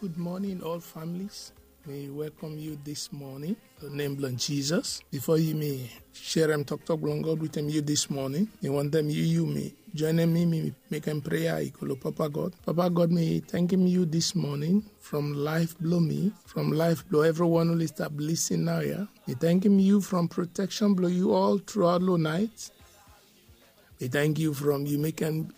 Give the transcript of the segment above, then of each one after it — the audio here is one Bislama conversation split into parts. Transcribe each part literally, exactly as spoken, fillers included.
Good morning, all families. Mi welcome yu dis morning. The name blong Jesus. Before yu mi share em talk talk blong God with em yu dis morning. Mi want them yu yu mi join em mi mi make em prayer. I call Papa God. Papa God, mi thank him you this morning from life blow me, from life blow everyone who stop listen now, yeah. Mi thank him you from protection blow you all throughout the night. Mi thank you from you making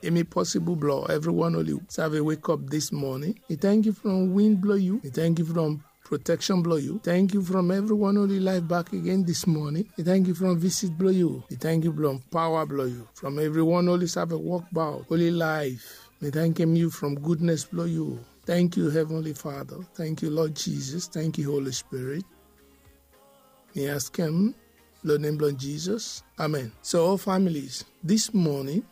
any possible blow everyone only serve a wake up this morning. Mi thank you from wind blow you. Mi thank you from protection blow you. Thank you from everyone only life back again this morning. Mi thank you from visit blow you. Mi thank you from power blow you. From everyone only serve a walk bout only life. Mi thank him you from goodness blow you. Thank you, Heavenly Father. Thank you, Lord Jesus. Thank you, Holy Spirit. Mi ask him, Lord name Lord Jesus. Amen. So, all families, this morning,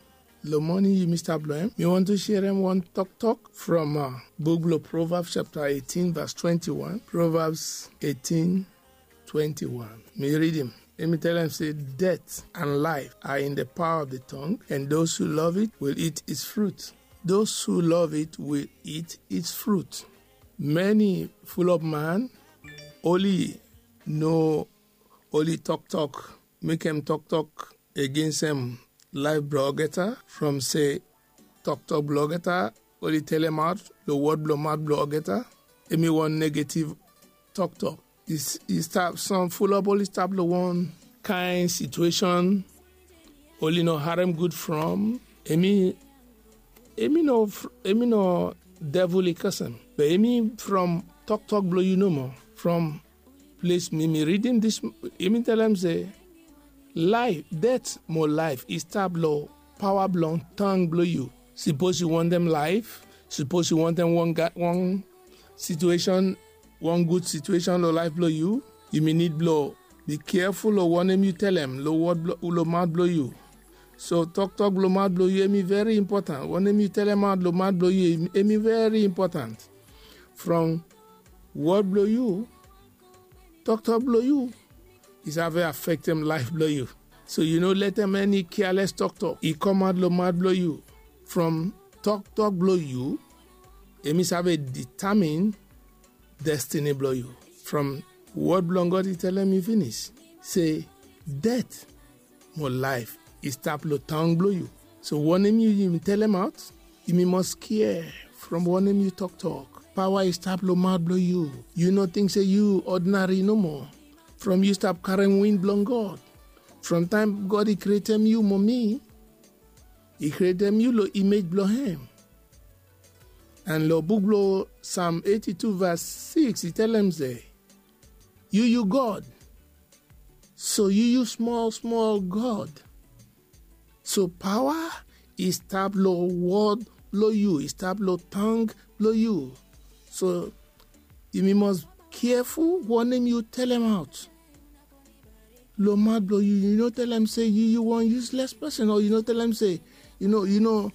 lo morning you Mister Bloem, mi want to share him one talk talk from uh, book of Proverbs chapter eighteen, verse twenty-one. Proverbs eighteen, twenty-one. Mi read him. Let me tell him, say, death and life are in the power of the tongue, and those who love it will eat its fruit. Those who love it will eat its fruit. Many full of man only no only talk talk, make em talk talk against em life blogeta from say talk talk blogeta only tell em out the word blow mouth blogeta. Emi one negative talk talk. Is is tap some full up only tap the one kind situation only no harem good from emi emi no emi no devil i kasem, but emi from talk talk blow you no more from place mi mi reading this. Emi tell am say life, death mo life i start blow power blow tongue blow you. Suppose you want them life, suppose you want them one ga- one situation, one good situation lo life blow you. You may need blow. Be careful lo one name you tell them lo word blow lo mouth blow you. So talk talk lo mouth blow you emi very important. One name you tell them out lo mouth blow you emi very important. From word blow you, talk talk blow you is have affect them life blow you. So you know let them any careless talk talk. He come out lo mouth blow you. From talk talk blow you, emi have determine destiny blow you. From word blow God he tell them you finish. Say death mo life i stap lo tongue blow you. So one name you you tell them out. You mi must care from one name you talk talk. Power i stap lo mouth blow you. You no think say you ordinary no more. From you stop carrying wind blow God. From time God he create them you mo me, he create them you lo image blow him. And lo book blow Psalm eighty-two verse six he tell them say, you you God. So you you small small God. So power is tap lo word lo you, is tap lo tongue lo you. So you mi must careful one name you tell them out. Lo mad blow you, you no tell them say you you one useless person, or you no tell them say you know you know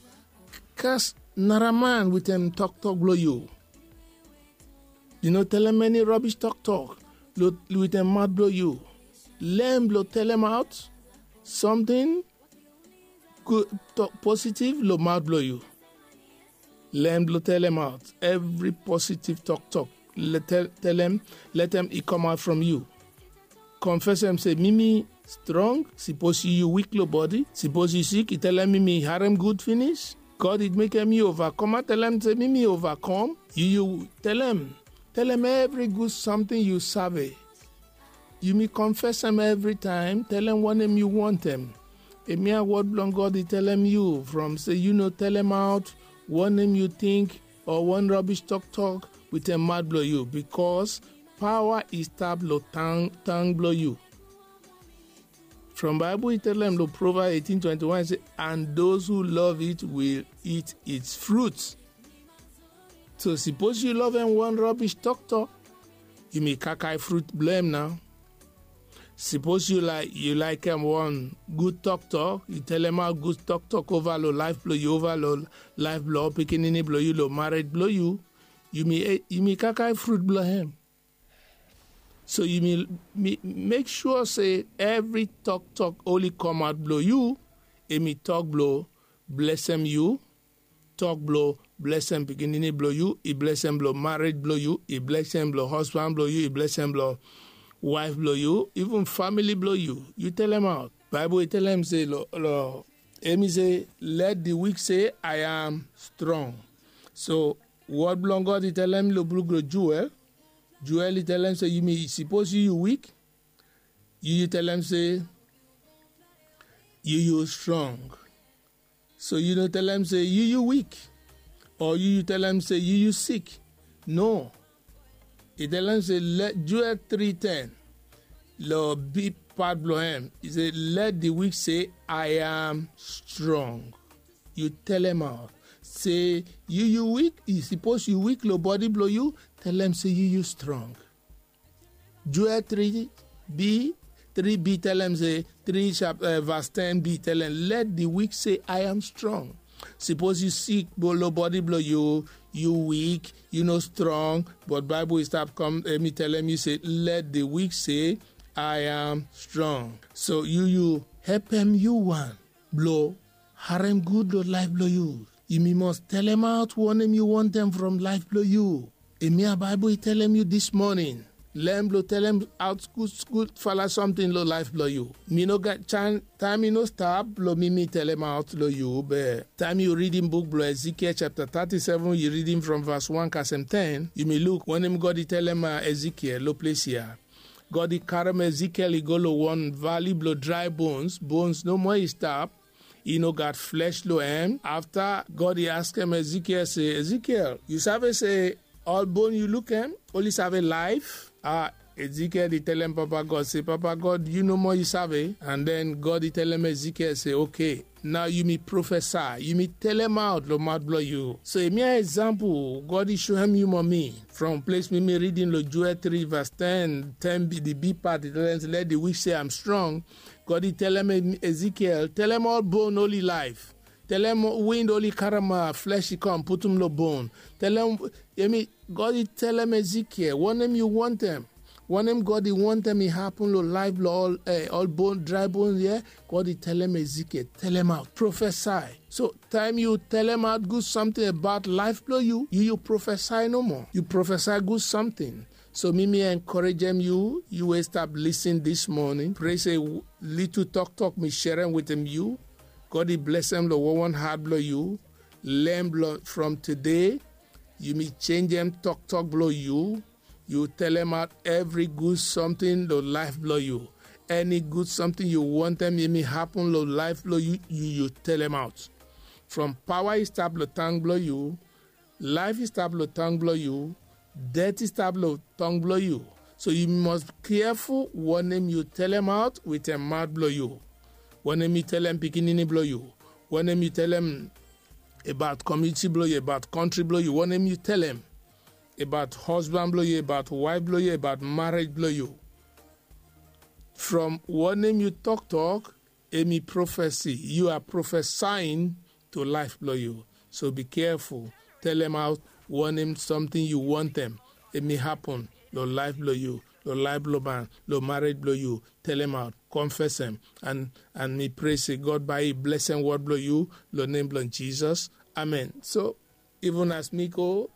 curse nara man with them talk talk blow you. You no tell them any rubbish talk talk lo with them mad blow you. Learn blow tell them out something good talk positive lo mad blow you. Learn blow tell them out every positive talk talk. Let tell, tell them let them it come out from you. Confess them say mimi strong. Suppose you you weak lo body, suppose you sick, you tell them mimi harem good finish. God it make them you overcome. I tell them say mimi overcome. You you tell them, tell them every good something you sabi. You mi confess them every time. Tell them one name you want them. Emia word blong God he tell them you from say you no tell them out one name you think or one rubbish talk talk with a mad blow you, because power is tap lo tongue tongue blow you. From Bible he tell them lo Proverbs eighteen twenty-one say, and those who love it will eat its fruits. So suppose you love them one rubbish talk talk, you may kakai fruit blame now. Suppose you like you like them one good talk talk, you tell them how good talk talk over lo life blow you, over lo life blow pikinini blow you, lo married blow you. You may eh, you may kakai fruit blow him. So you may, may make sure say every talk talk only come out blow you. Emi talk blow bless him you. Talk blow blesem pikinini blong yu, i blesem blong marej blong yu, i blesem blong hosban blong yu, i blesem blong waef blong yu, even famili blong yu. Yu telemaot. Baebol i telem se long, long em i se, let di wik se, I am strong. So wod blong God i telem long buk blong Joel. Joel i telem se yumi, sipos yu yu wik, yu yu telem se yu yu strong. So yu no telem se yu yu wik, o yu yu telem se yu yu sik. No. I telem se, let Joel tri ten, long big pat blong em, i se, let di wik se, I am strong. Yu telemaot se yu yu wik. I sipos yu wik long bodi blong yu, telem se yu yu strong. Joel tri b, tri b telem se, tri chap, vas ten b telem, let di wik se, I am strong. Sipos yu sik long bodi blong yu, yu wik, yu no strong, but Baebol i stap kom, em i telem yu se, let di wik se, I am strong. So yu yu hepem yu wan blong harem gud long laef blong yu. Yumi mos telemaot wanem yu wantem from laef blong yu. Hemia Baebol i telem yu dis moning. Lem blong telemaot gud gud fala samting long laef blong yu. Mi no gat taem, taem i no stap blong mi mi telemaot long yu, be taem yu ridim buk blong Ezekiel chapta tati seven, yu ridim from vas wan kasem ten, yumi luk wanem God i telem Ezekiel long ples ya. God i karem Ezekiel i go long wan vali blong drae bons. Bons nomo i stap. I no gat flesh long hem. Afta God i askem Ezekiel se, Ezekiel, yu save se ol bon yu lukem oli save laef? A, Ezekiel i telem Papa God se, Papa God, yu nomo yu save. And den God i telem Ezekiel se, oke, nao yumi profesa, yumi telemaot long maot blong yu. So hemia example God i soem yu mo mi from ples mi mi ridim long Joel tri vas ten, ten, di big pat i telem se, let di wik se, I am strong. God i telem Ezekiel, telem ol bon oli laef. Telem wind oli karem flesh i kom putum long bon. Telem, hemi, God i telem Ezekiel wanem yu wantem. Wanem God i wantem i hapun long laef blong ol, eh, ol bon, drae bon ya. God i telem Ezekiel, telemaot, profesa. So taem yu telemaot gud samting abaot laef blong yu, yu yu profesa nomo. Yu profesa gud samting. So mi mi enkorejem yu, yu we stap lisin dis moning. Pray se litu toktok mi serem wetem yu, God i blesem long wanwan hat blong yu. Lem blong from tede, yumi jenjem toktok blong yu. Yu telemaot evri gud samting long laef blong yu. Eni gud samting yu wantem hemi hapun long laef blong yu, yu yu telemaot. From pawa i stap long tang blong yu, laef i stap long tang blong yu, det i stap long tang blong yu. So yu mos keaful wanem yu telemaot wetem maot blong yu. Wanem yu telem pikinini blong yu. Wanem yu telem abaot komuniti blong yu, abaot kontri blong yu. Wanem yu telem abaot hosban blong yu, abaot waef blong yu, abaot marej blong yu. From wanem yu toktok, hemi profesi. Yu a profesaing to laef blong yu. So bi keaful. Telemaot wanem samting yu wantem hemi hapun long laef blong yu, long laef blong man, long marej blong yu. Telemaot, konfesem. And, and mi pray se God bae i blesem wod blong yu long nem blong Jisas. Amen. So even as mi go,